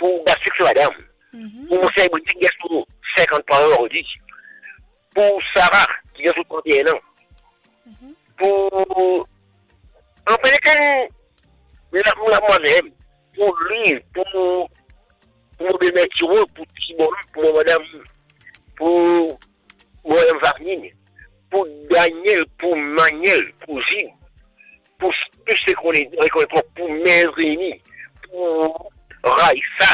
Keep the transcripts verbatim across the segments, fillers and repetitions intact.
pou Basik so madam, pou Monsey Boutik, ki gagn so sinkant-trwa an ozordi, pou Sara, ki gagn so trant-e-enn an, pou, anfin, lekenn, la, la, mwa mem, pou li, pou, pou mo belmer Tiro, pou Tibon, pou mo madam, pou mo madam Vanine, pou Daniel, pou Manuel, pou Zid, pou tou se kone, rekonet mwa, pou Mezini, pou Raisa,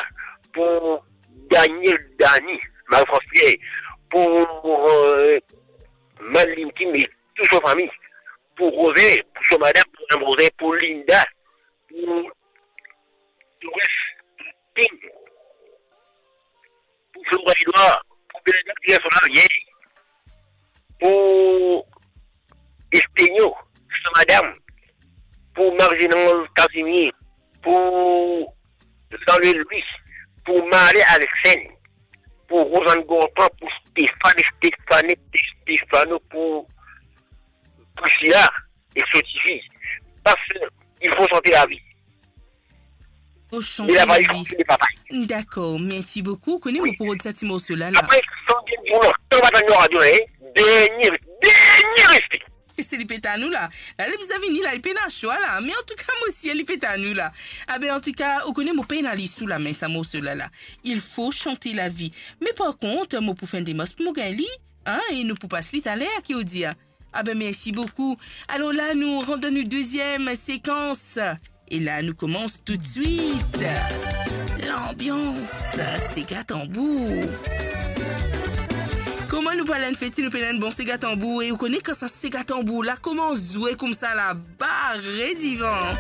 pou Daniel, Dani, Marie-France Pierre, pou, euh, Madeline Kim e tou so fami, pou Roze, pou so madam, pou madam Roze, pou Linda, pou Doris, pou Kim, pou Flora Edouard, pou Bernard Pierre, so larie, pou Estenio, so madam, pou Marie-Jeanne Casimir, pou Jean-Louis Louis, pou Marley Alexène, pou Rosanne Gontran, pou Stéphane, Stéphane, Stéphano, pou Priscilla e so tifi. Parski il faut chanter la vie. Faut chanter la vie. Dakor, mersi boukou. Kone mo pou rod sa ti morso la, la. Apre, san bien dir non, kan va tann nou radio, hein, dernie, dernie respe. E se li pe tann nou la. La, li bizin vini la, li pena swa la. Me antouka, mo sir li pe tann nou la. Abe, antouka, ou kone mo pena li sou lame sa morso la, la. Il faut chanter la vie. Me par kont, mo pou fer enn demars pou mo gagn li, hein, e nou pou pas li taler, ki ou dir? Abe, mersi boukou. Alor la, nou rant dan nou deziem sekans. E la, nou koumans toutswit. Lanbians, sega tanbour. Kouma nou pou al enn fete, nou pena enn bon sega tanbour. E ou kone kan sa sega tanbour la koumans zwe koumsa la, bare divan.